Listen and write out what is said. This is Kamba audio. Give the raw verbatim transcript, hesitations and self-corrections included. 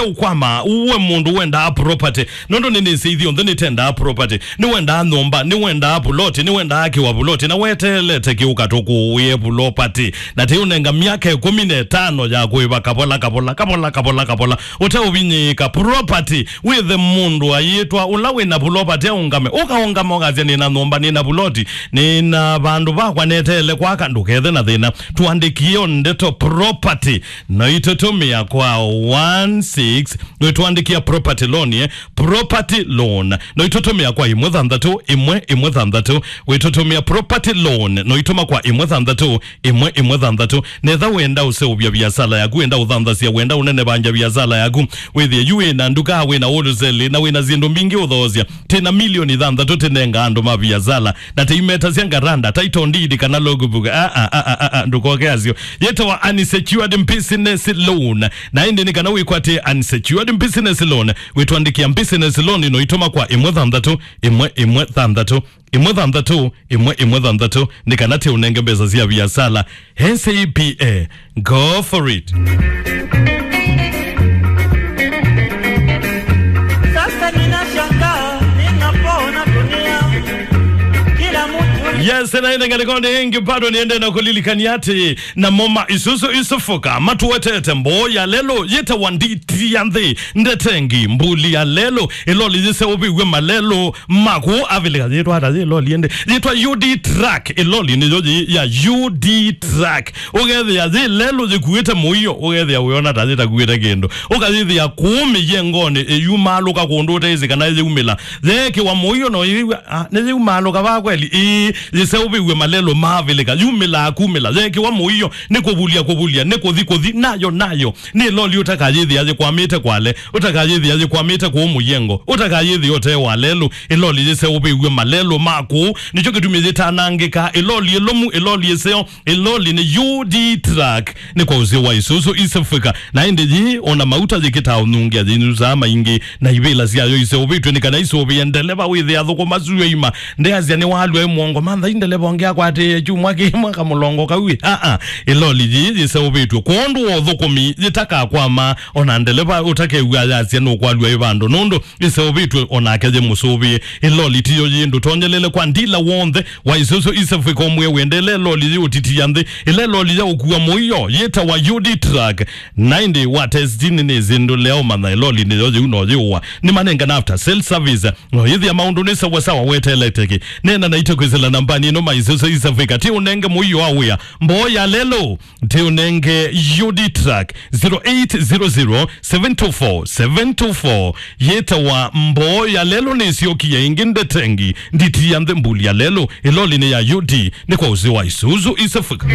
ũkwama, we mũndũ wendaa property. Nũndũ nĩnĩsĩ ithyonthe nĩtendaa property. Nĩwendaa nyũmba, nĩwendaa vuloti, nĩwendaa kĩwa vuloti, na weteelete kĩũka tũkũũĩe vulopati. Na tĩũnenga myaka ĩkũmi na ĩtano ya kũĩva kavola, kavola, kavola, kavola, kavola. Ũteũvinyĩĩka property. Wĩthe mũndũ ayĩtwa ũla wĩna vulopati aũngame. Ũkaũngama ũkasya, "Nĩna nyũmba, nĩna vuloti, nĩna vandũ vakwa neteele kwaka." Ndũkethe na thĩna. Tũandĩkie o ndeto property. No itũtũmĩa kwa one six, wĩtũandĩkĩa property loan, eh? Property loan. No itũtũmĩa kwa ĩmwe thanthatũ, ĩmwe, ĩmwe thanthatũ. Wĩtũtũmĩa property loan. No itũma kwa ĩmwe thanthatũ, ĩmwe, ĩmwe thanthatũ. Netha wenda ũseũvya viasala yaku, wenda ũthanthasya, wenda ũnenevangya viasala yaku. Wĩthĩe yu wĩna nduka, wĩna wholesale, na wĩna syĩndũ mbingĩ ũthoosya. Tĩna milioni thanthatũ tĩnenga andũ ma viasala. Na tĩimetasya ngaranda, title deed kana logbook. Ah, ah, ah, ah, ah, ah, ndũkoke asyo. Yĩtawa unsecured business loan. Na ĩndĩ nĩ kana wĩkwatĩe unsecured business loan, wĩtũandĩkĩa business loan no itũma kwa ĩmwe thanthatũ, ĩmwe, ĩmwe thanthatũ, ĩmwe thanthatũ, ĩmwe, ĩmwe thanthatũ, nĩ kana tĩũnenge mbesa sya viasala. N C P A, go for it. Sasa ninashangaa, ninapoona dunia, kila mtu. Yes, na ĩndĩ ngalĩkonde ĩngĩ bado nĩende na kũlilikania atĩ namo ma Isuzu Isufuka matũetete mboo ya lelũ yĩtawa Nditi ya Nthĩ, ndetengi, mbuli ya lelũ, ĩloli yĩseũvĩw'e malelũ maku avilika. Yĩtwa ata yĩ loli ĩndĩ? Yĩtwa U D truck. Ĩloli nĩyo yĩ ya U D truck. Ũkethĩa yĩ lelũ yĩkuĩte mũio, ũkethĩa ũyona ta yĩtakuĩte kĩndũ. Ũkayĩthĩa kũũ mĩyengonĩ ĩyumaalũka kũndũ ũteĩsĩ kana yĩumĩla. Yeekĩwa mũio no yĩw'a, ah, nĩyĩumaalũka vaa kweli? Ĩĩ, yĩseũvĩw'e malelũ maavilĩka. Yumĩlaa kumĩla. Yeekĩwa mũio nĩ kũvulya kũvulya, nĩ kũthi kũthi, nayo nayo. Nĩ loli ũtakayĩthĩa yĩkwamĩte kwale, ũtakayĩthĩa yĩkwamĩte kũũ mũyengo, ũtakayĩthĩa ũtee wa lelũ. Ĩloli yĩseũvĩw'e malelũ ma kũũ, nĩkyo kĩtumi yĩtanangĩka. Ĩloli ĩlũmu, ĩloli ĩseo, ĩloli nĩ U D truck. Nĩ kwa ũsĩ wa Isuzu East Africa. Na ĩndĩ yĩĩ, ona mauta yĩkĩtaa ũnungia, yĩnyusaa maingĩ, na ivĩla syayo iseũvĩtw'e nĩ kana isũvĩe ndeleva wĩthĩa athũkũma syũa ima. Ndeasya nĩwalw'a ĩ mũongo, mantha i ndeleva ũngĩ akwatĩĩe kyumwa kĩmwe kamũlongo kau ĩ. Aa, ĩloli yĩĩ yĩseũvĩtw'e kwondũ wa ũthũkũmi yĩtakakwama, ona ndeleva ũtakew'a ayasya nũkwalw'a ĩ vandũ, nũndũ ĩseũvĩtw'e onake yĩ mũsũvĩe. Ĩloli tiyo yĩ ndũtonyelele kwa ndila w'onthe wa Isuzu East Africa ũmwe wendele ĩloli yĩ ũtiti ya nthĩ. Ĩla ĩloli ya ũkua mũio yĩtawa U D truck. Na ĩndĩ wa testi nĩ nĩsĩ ndũlea ũmanya ĩloli nĩyo yĩu no yĩũa. Nĩmanengana after sale service. No yĩthĩa maũndũ nĩ sawasawa weteleteki. Nena naitũ kwĩsĩla nambani ĩno ma Isuzu East Africa. Ti ũnenge mũio wa wĩa. Mboo ya lelũ. Ti ũnenge U D truck. Zero eight zero zero, seven two four, seven two four. Yĩtawa mboo ya lelũ nĩsyokie ĩngĩ ndetengi. Nditi ya nthĩ mbuli ya lelũ. Ĩloli nĩ ya U D. Nĩ kwa ũsĩ wa Isuzu East Africa.